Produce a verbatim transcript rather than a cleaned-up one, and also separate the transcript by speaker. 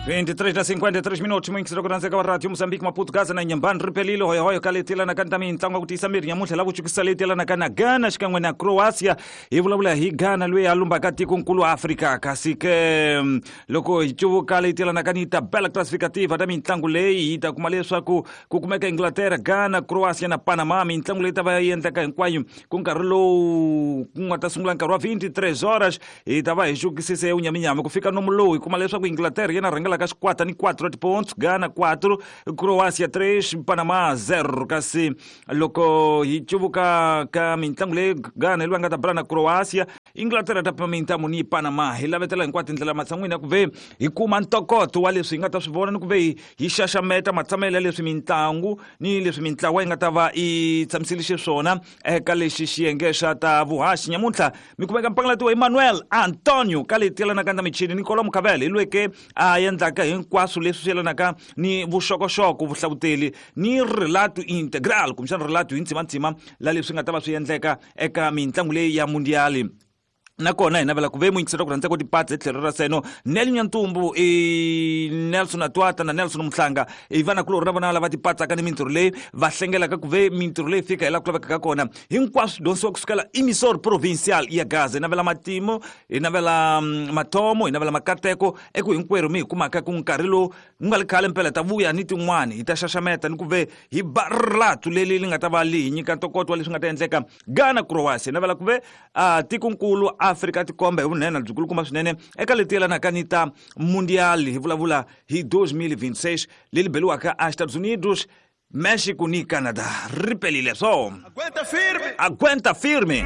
Speaker 1: vinte e três na cinquenta e três minutos, muyingiseri ku rhandzeka wa Radio Mozambique, Maputo, Gaza na Inhambane, ripelile hoyohoyo ka leti yelanaka ni ta mitlangu ya ku tiyisa miri nyamuntlha la ku chukisa leti yelanaka na Ghana xikan'we na Croatia. Hi vulavula hi Ghana loyi a lumbaka tikonkulu Afrika, kasi ke mm, loko hi cuvuka leti yelanaka ni tabela classificativa ta mitlangu leyi, hi ta kuma leswaku ku kumeka Inglaterra, Ghana, Croatia na Panama. Mitlangu leyi ta va yi endleka hinkwayo ku nkarhi lowu ku nga ta sungula nkarhi wa vinte e três horas. Hi ta va hi xukisise unyaminyami ku fika nomu lowu, hi kuma leswaku Inglaterra yena rhangelaka xikwata ni quatro pontos, Ghana quatro, Croatia três, Panama zero. Kasi loko hi cuvuka ka mitlangu leyi, Ghana hi loyi a nga ta bula na Croatia, Inglaterra ta pima mintamu ni Panama. Hi lavetela hinkwato tindlela matshan'wini ya ku ve hi kuma ntokoto wa leswi hi nga ta swi vona ni ku ve hi hi xaxameta matshamelo ya leswi mitlangu ni leswi mintlawa yi nga ta va yi tshamisile xiswona eka lexi xiyenge xa ta vuhaxi. Nyamuntlha mi kumeka mpangalati wa Emmanuel Antonio ka leti yelanaka na michini, Nicola Mukavele hi lweke a endlaka hinkwaswo leswi swi yelanaka ni vuxokoxoko, vuhlavuteli ni relato integral, kumbexana relato hi ntsimantsima la leswi nga ta va swi endleka eka mitlangu leyi ya mundiali. Nakona hi navela ku ve muyingiseri ku rhandza ku tipatsa hi tlhelo ra seno Nel Nyantumbu, i Nelson Atwata na Nelson Muhlanga, i vanakulorhi na vona lava tipatsaka ni mintirho leyi va hlengelaka ku ve mintirho leyi fika hi laha ku lavekaka kona. Hinkwaswo swi dyondzisiwa kusukela emisor provincial ya Gaza. Hi navela matimo, hi navela mm, mathomo, hi navela makateko eku hinkwerhu mi hi kumaka ku nkarhi lowu ku nga ri khale mpela ta vuya ni tin'wani, hi ta xaxameta ni ku ve hi ba rilatu leri li nga ta va li hi nyika ntokoto wa leswi nga ta endleka Ghana, Croatia. Hi navela ku ve uh, tikonkulu Afrika tikomba hi vunene byikulukumba swinene eka leti yelanaka ni ta mundial. Hi vulavula hi dois mil e vinte e seis leri beliwaka a Estados Unidos, México ni Canada. Ripelile so.
Speaker 2: Aguenta firme.
Speaker 1: Aguenta firme.